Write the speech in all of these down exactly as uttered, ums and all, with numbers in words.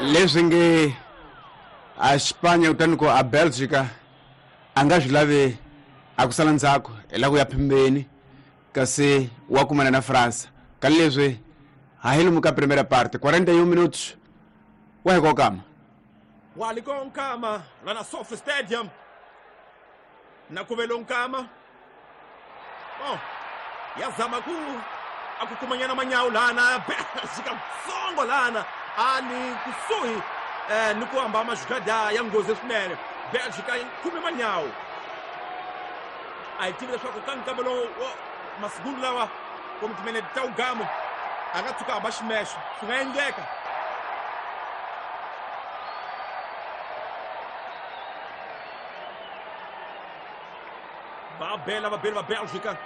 Leswi nge a Espanha kutani ku a Belgica a nga swi lavi a ku sala ndzhaku hi la ku ya phembeni kasi wa kumana na França ka leswi ha hi lomu ka primeira parte quarenta e um minutos wa hi kokama walikonkama lana Sofi Stadium na kuvelonkama oh yazama ku akukumanyana manyawu lana Belgica tsongo lana ali kusuhi eh ni ku hamba majugada ya nghozi swinene Belgica khume manyawu a hi tivi leswaku ka nkama lowu masiku lawa kumbe timinete ta ugamo a nga tshuka hamba ximexo swi nga endleka va bela va bela va Belgica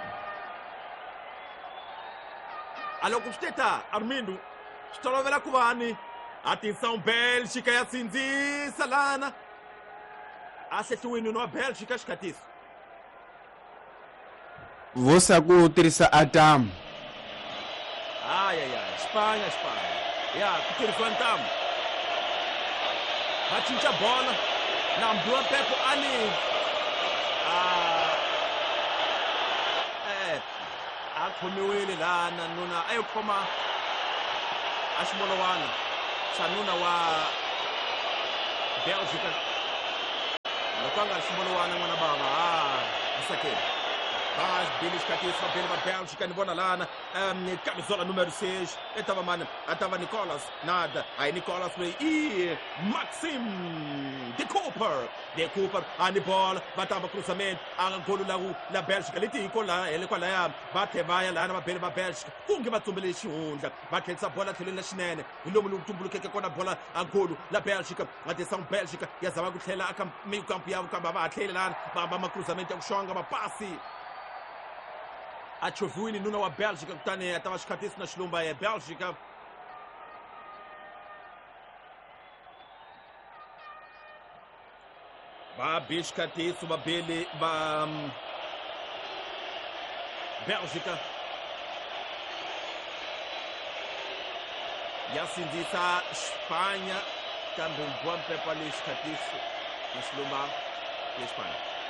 a loko swi teta Armindo swi tolovela ku va ni atenção Bélgica ya sindzisa lana a hlehliwini wa Bélgica xikhatiso vosa ku tirhisa atamu ay ay ay Espanha Espanha ya ku tirhisiwa ntamu va cinca bola na mbiwa Pepo ani a eh a khomiwile lana nuna a yo khoma a ximolowana xa nuna wa Belgica loko a nga ri ximolowana n'wana bava a asakeni va bile xikhatiso va bile va Belgica ni vona lana um camisola número seis e tava mani a tava Nicolas nada aí Nicolas loyi i Maxim de Cooper de Cooper ani bola va tamba cruzamento a golo la la Belgica leti hi ko la hele kwalaya va tlhe va ya lana va bele va Belgica kunge va tsumbele xihundla va tlherisa bola tlhelweni la xinene hi lomu lowu tumbulukeke kona bola a golo la Belgica va tisa Belgica ya zama ku tlhela aka mikampu ya kambe va ha tlheli lana va hamba macruzamento ya ku xonga mapasi a chovhiwile nuna wa Belgica kutani a ta va xikhatiso na xilumba ya Belgica va be xikhatiso va bele va Belgica ya sindzisa Espanha kambe mbiwa mpepa leyi xikhatiso na xilumba ya Espanha.